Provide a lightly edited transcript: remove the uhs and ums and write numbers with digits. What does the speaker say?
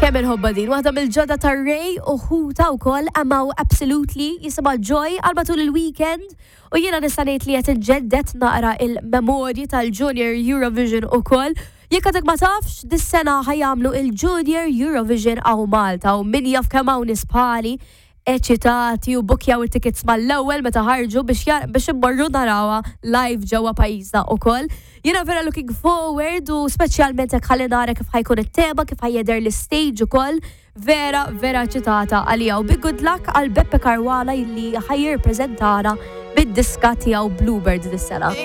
Kemm inħobbha din, waħda mill-ġodda ta' Ray u ħuta wkoll Amaw Absolutely jisimha Joy għal matul il-weekend u jiena nista' ngħid li qed inġedded naqra il-memorji tal-Junior Eurovision ukoll. Jekk għadek ma tafx, dis-sena ħa jagħmlu il-Junior Eurovision hawn Malta u min jaf kemm hawn nies bħali eċitati u bukjaw it-tickets mal-ewwel meta ħarġu biex biex immorru narawha live ġewwa pajjiżna ukoll. Jiena vera looking forward u speċjalment hekk ħalli nara kif ħa jkun it-tema, kif ħa jidher l-istage ukoll. Vera, vera eċitata għalija u big good luck għal Beppe Caruana illi ħa jirrepreżentana bid-diska tiegħu Bluebird dis-sena.